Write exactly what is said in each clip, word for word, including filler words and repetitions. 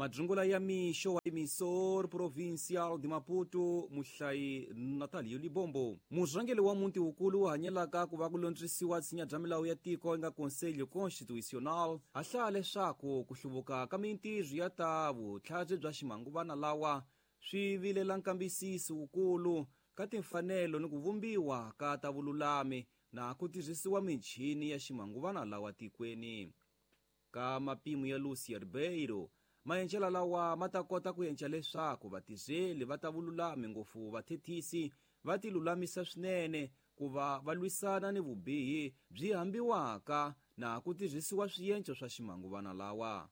Madzungula ya mixo wa emissor provincial de Maputo muhlayi Natalio Libombo. Murhangeri wa muti wukulu wu hanyelaka ku va ku londzisiwa tshinya bya milawu ya tiko nga Conselho Constitucional a hlaya leswaku ku hluvuka ka mintirho ya ta vutlhari bya ximanguvana lawa swi vilela nkambisiso wukulu ka timfanelo ni ku vumbiwa ka ta vululami na ku tirhisiwa michini ya ximanguvana lawa tikweni. Ka mapimo ya Lucia Ribeiro, maendlelo lawa ma ta kota ku endla leswaku vatirheli va ta vululami ngopfu vathethisi va ti lulamisa swinene ku va va lwisana ni vubihi byi hambiwaka na ku tirhisiwa swiendlo swa ximanguvana lawa.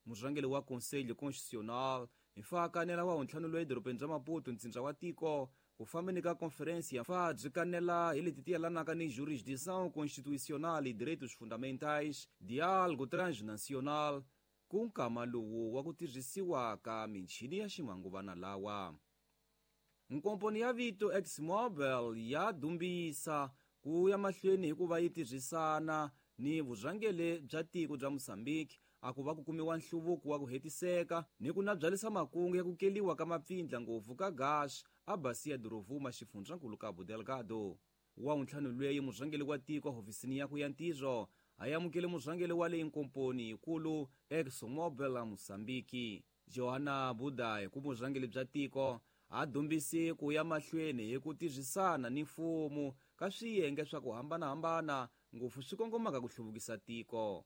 Murhangeri wa Conselho Constitucional mfakanela wa ntlhanu loyi edorobeni bya Maputo ntsindza wa tiko ku fambeni ka conferência ya fa byi kanela hi leti ti yelanaka ni jurisdição constitucional e direitos fundamentais, diálogo transnacional ku nkama lowu wa ku tirhisiwa ka michini ya ximanguvana lawa. Nkomponi ya vito ExxonMobil ya dumbisa ku ya mahlweni hikuva yi tirhisana ni vurhangeri bya tiko bya Mozambique a ku va ku kumiwa nhluvuko wa ku hetiseka ni ku nabyalisa makungu ya ku keliwa ka mapfindla ngopfu ka gas a Bacia do Rovuma xifundzankulu Cabo Delgado. Wa ntlhanu lweyi murhangeri wa tiko hofisini ya ku ya ntirho a amukele murhangeri wa leyi nkomponi yikulu ExxonMobil a Mozambique Johanna Budai ku vurhangeri bya tiko a dumbisi ku ya mahlweni hi ku tirhisana ni mfumo ka swiyenge swa ku hambanahambana ngopfu swi kongomaka ku hluvukisa tiko.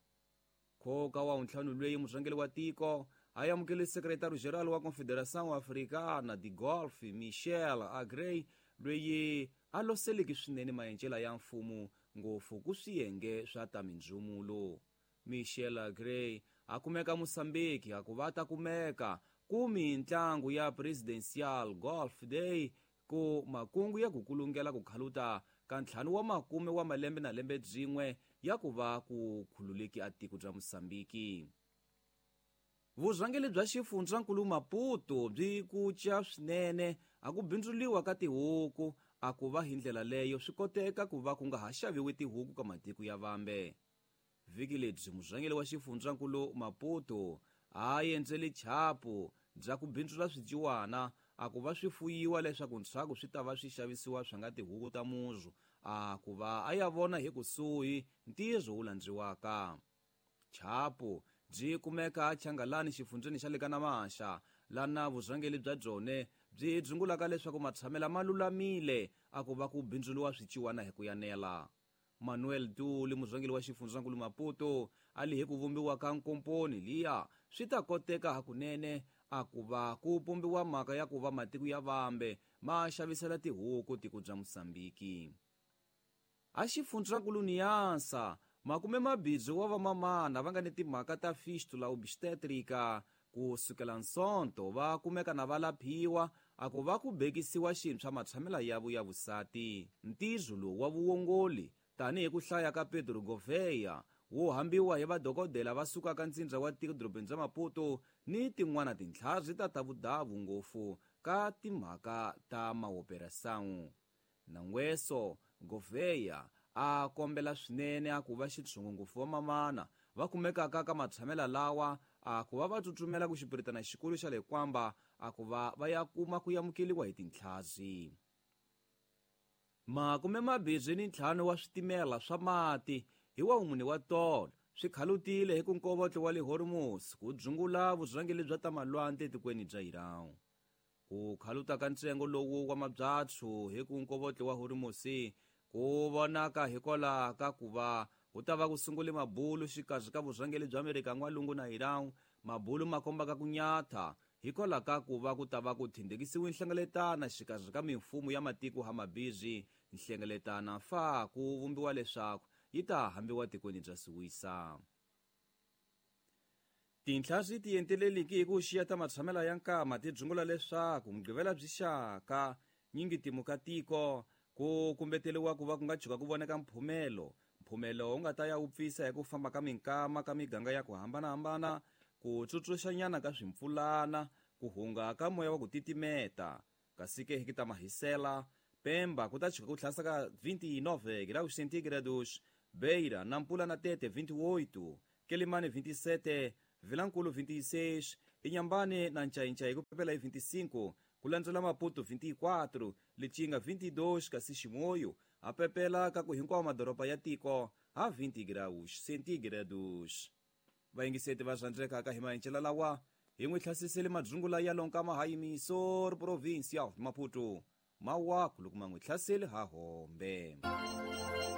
Nkoka wa ntlhanu lweyi murhangeri wa tiko a amukele secretary general wa Confederação Africana de Golf Michel Agrey lweyi a loseleki swinene maendlelo ya mfumo ngopfu ku swiyenge swa ta mindzumulo. Michel Agrey a kumeka Mozambique a ku va ta kumeka ku mintlangu ya Presidential Golf Day ku makungu ya ku kulungela ku khaluta ka ntlhanu wa makume wa malembe na lembe byin'we ya ku va ku khululeki a tiko bya Mozambique. Vurhangeri bya xifundzankulu Maputo byi kuca swinene a ku bindzuliwa ka tihuku a ku va hi ndlela leyo swi koteka ku va ku nga ha xaviwi tihuku ka matiko ya vambe. Vhiki lebyi murhangeri wa xifundzankulu Maputo a endzele chapu bya ku bindzula swijiwana a ku va swi fuyiwa leswaku ntshaku swi ta va swi xavisiwa swa nga tihuku ta muzu a ku va a ya vona hi kusuhi ntirho wu landziwaka. Chapu byi kumeka Changalani xifundzeni xa le ka Namasha lana vurhangeri bya byone byi dzungulaka leswaku matshamela ma lulamile a ku va ku bindzuliwa swiciwana hi ku yanela. Manuel Duli murhangeri wa xifundzankulu Maputo a li hi ku vumbiwa ka nkomponi liya swi ta koteka hakunene a ku va ku pumbiwa mhaka ya ku va matiko ya vambe ma xavisela tihuku tiko bya Mozambique. A xifundzankulu Niassa makume mabindzu wa vamamana va nga ni timhaka ta fistula obstetrica ku sukela nsonto va kumeka na va laphiwa a ku va ku bekisiwa xintshwa matshamela yavo ya vusati. Ntirho lowu wa vuongoli tanihi ku hlaya ka Pedro Gouveia wo hambiwa hi vadokodela va sukaka ntsindza wa tiko dorobeni bya Maputo ni tin'wana tintlhari ta ta vudavu ngopfu ka timhaka ta maoperação. Nangweso Gouveia a kombela swinene a ku va xitshungu ngopfu va mamana va kumekaka ka matshamela lawa a ku va va tsutsumela ku xipiritana xikulu xa le Kwamba a ku va va ya kuma ku amukeliwa hi tintlhazi. Makume mabirhi ni ntlhanu wa switimela swa mati hi wa mune wa tolo swi khalutile hi ku nkovotlo wa le Hormuz ku dzungula vurhangeri bya ta malwandle etikweni bya Iran. Ku khaluta ka ntsengo lowu wa mabyatsu hi ku nkovotlo wa Hormuz ku vonaka hikwalaho ka ku va ku ta va ku sungule mabulu xikarhi ka vurhangeri bya Amerika n'walungu na Iran. Mabulu ma kombaka ku nyatha hikwalaho ka ku va ku ta va ku thindekisiwe nhlengeletana xikarhi ka mimfumo ya matiko hamabirhi. Nhlengeletana fa ku vumbiwa leswaku yi ta hambiwa tikweni bya Suwisa. Tintlhari ti enteleliki hi ku xiya ta matshamela ya nkama ti dzungula leswaku mugqivela byi xaka nyingi timuka tiko ku kumbeteriwa ku va ku nga tshuka ku voneka mphumelo. Mphumelo wu nga ta ya wu pfisa hi ku famba ka minkama ka miganga ya ku hambanahambana, ku tsutsuxanyana ka swimpfulana, ku hunga ka moya wa ku titimeta. Kasi ke hi ta mahisela Pemba ku ta tshuka ku tlhasa ka vinte e nove graus centígrados, Beira, Nampula na Tete vinte e oito, Quelimane vinte e sete, Vilankulo vinte e seis, Inhambane na Ncainca ku pepela hi vinte e cinco, ku landzela Maputo vinte e quatro, Lichinga vinte e dois, kasi Chimoio a pepela ka ku hinkwawo madoroba ya tiko ha vinte graus centígrados. Vayingiseti va rhandzekaka, hi mahencela lawa hi n'wi hlasisele madzungula ya lonka mahayimisor provincial Maputo. Mawaku loko ma n'wi hlaseli ha hombe.